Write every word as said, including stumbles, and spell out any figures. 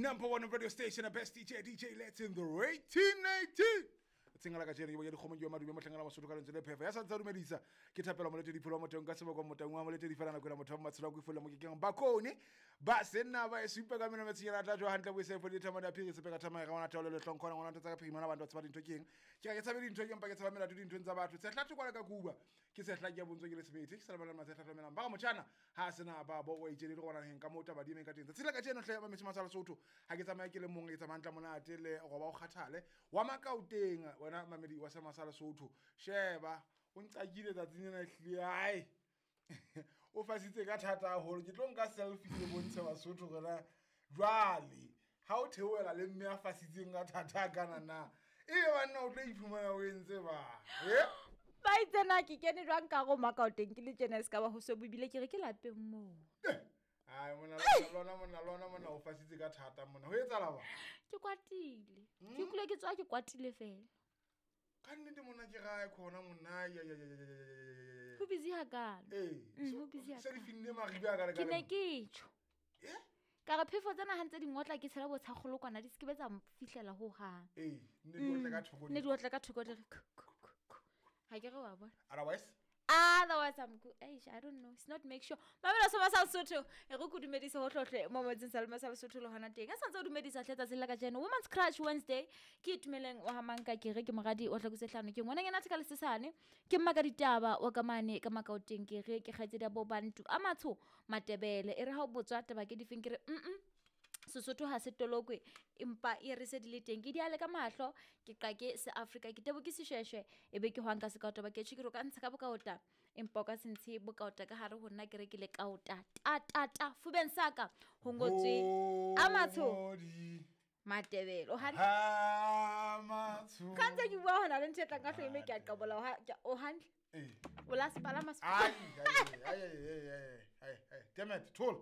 Number one radio station, the best D J, D J Let's in the eighteen nineteen. Tsengala ka jeno ke dikgomo ke madume mohlangana Basotho ka lentswe le phefa ya sa ntsa dumedisa ke thapela molete dipholo motho ka seboko motho wa molete di fela nako la motho wa matshelo go ifola mo ke keng bakone ba senna ba e supa ka mena metsinyana tla jo hantle bo se fo ditha mona phiri se peka thama ga ona taolo le hlonkho ngwana tsa ka phiri mana bantu ba tsaba dintho keng ke ka tsaba dintho keng pa ke tsaba melato dinthong tsa batho se hlatho kwala ka kuba ke se hla ke bontso ke le sebete ke sa bana matse hlatho melang ba ga motjana ha sena ba bo o itjele le gona heng ka mota ba di meng ka teng tsela ka jeno hle ba metsi Sotho ha ke tsamaya ke le mong ke tsamaya ntla monate le go ba o kgathale wa makauteng wena mamedi wa sama sa Lesotho sheba o nqakile tsatsing lena hlile ai o fasitse ka thata haholo ke tlo nka selfie ke bontshe Basotho rena jwale ha o theoela le mme a fasitseng ka thata kana na ebe banna o tlo iphumana o entse ba eh ba itsena ke kene jwang ka go makauteng ke le tjena se ka ba ho so bibile ke re ke lapeng moo. Ai mona lona mona lona mona o fasitse ka thata mona ho etsala ba ke kwatile ke kule ke tswa ke kwatile fela ka nnete mona ke gae khona mona ya ya ya ya ho busy hakalo eh ho busy se di finne maribe a ka re ke ne ke tjho eh ka re phefo tsena ha ntse di ngotla ke tshela botshagolo kwana di skebe tsa fihlela ho hang eh ne di otla ka thoko ne di otla ka thoko le ha ke re wa bona otherwise Otherwise, I'm good. Eish, I don't know. It's not make sure. Mamela soma sa Sotho. E re go dumedisa ho hlohle mo motseng sa lema sa Sotho le hona teng. A santse o dumedisa hle tsatsi la kajeno. Women's Crush Wednesday. Ke itumeleng wa hamanka ke re ke moradi o hlakose hlano ke ngwana ngena thaka lesesane. Ke mmaka ditaba wa ka mane ka makaoteng ke re ke kgaitsedi bo bantu a matsho matebele. E re ha o botswa taba ke difeng ke re mm Sesotho ha se tolokwe empa e re se di le teng ke diale ka mahlo ke qake se Africa ke tebo ke seshweshwe e be ke hwang ka sekaota ba ke tjhe ke re ka ntsha ka bokaota empa o ka se ntshe bokaota ka hare ho nna ke re ke le kaota ta ta ta fubeng saka ho ngotswe a matsho matebele o hantle ha matsho ka ntse ke bua hona le ntho e tlang ka hloe me ke a qabola o hantle eh o la sepalama ai ai ai ai ai ai damn it toll.